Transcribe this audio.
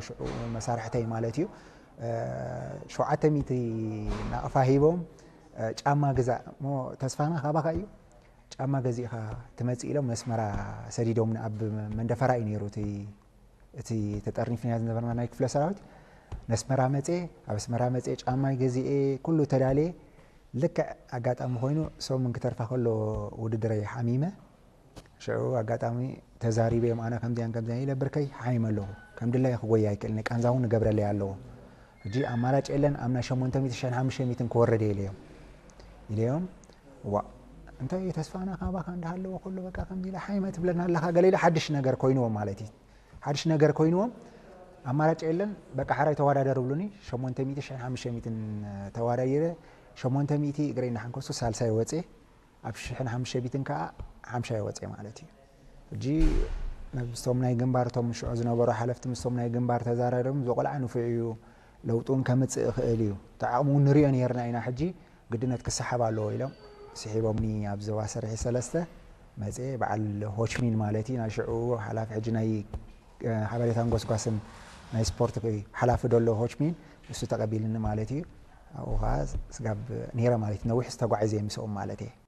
ሽዑ መሳርሕተይ ማለት እዩ። ሸውዓተ ሚእቲ ናቕፋ ሂቦም ጫማ ግዛእ እሞ ተስፋና ካባኻ እዩ። ጫማ ገዚእኻ ትመጽእ ኢሎም ነስመራ ሰዲዶምኒ። ኣብ መንደፈራ እዩ ነይሩ እቲ ተጠርኒፍና ዝነበርና ናይ ክፍለ ሰራዊት። ነስመራ መጼ ኣብ ኣስመራ መጼ ጫማ ገዚኤ ኩሉ ተዳልየ። ልክዕ ኣጋጣሚ ኮይኑ ሰሙን ክተርፋ ከሎ ውድድረይ ሓሚመ። ሽዑ ኣጋጣሚ ተዛሪበዮም ኣነ ከምዚያን ከምዚያን ኢለ ብርከይ ሓይመ ኣለኹ። ከም ድላይ ክጎይ ኣይክእልን ቃንዛ እውን ንገብረለይ ኣለዎ። ሕጂ ኣማራጭ የለን ኣብ ናይ ሸሞንተ ሚእቲ ሽሕን ሓሙሽተ ሚእትን ክወረድ እየ ኢለዮም ኢለዮም ዋ እንታይ ተስፋና ካባካ እንዳሃለዎ ኩሉ በቃ ከምዚ ኢለ ሓይመ ትብለና ኣለካ ገለ ኢለ ሓድሽ ነገር ኮይንዎም ማለት እዩ። ሓድሽ ነገር ኮይንዎም ኣማራጭ የለን በቃ ሓራይ ተወዳደር ብሉኒ። ሸሞንተ ሚእቲ ሽሕን ሓሙሽተ ሚእትን ተዋዳዲረ። ሸሞንተ ሚእቲ እግረይ እንዳሓንከሱ ሳልሳይ ወፅየ። ኣብ ሽሕን ሓሙሽተ ሚእትን ከዓ ሓምሻይ ወፅየ ማለት እዩ። ሕጂ ምስቶም ናይ ግንባር እቶም ሽዑ ዝነበሩ ሓለፍቲ ምስቶም ናይ ግንባር ተዛራሪቦም እዚ ቆልዓ ንፉዕ እዩ ለውጢ እውን ከምፅእ ይኽእል እዩ እቲ ዓቕሚ እውን ንሪኦ ነይርና ኢና። ሕጂ ግድነት ክሰሓብ ኣለዎ ኢሎም ስሒቦምኒ ኣብ ዞባ ሰርሒ ሰለስተ መፅየ። በዓል ሆችሚን ማለት እዩ ናይ ሽዑ ሓላፊ ሕጂ ናይ ሓበሬታን ጎስጓስን ናይ ስፖርት ሓላፊ ደሎ ሆችሚን እሱ ተቐቢልኒ ማለት እዩ። ኣብኡ ከዓ ስጋብ ነይረ ማለት እዩ። ነዊሕ ዝተጓዒዘ ምስኦም ማለት እየ።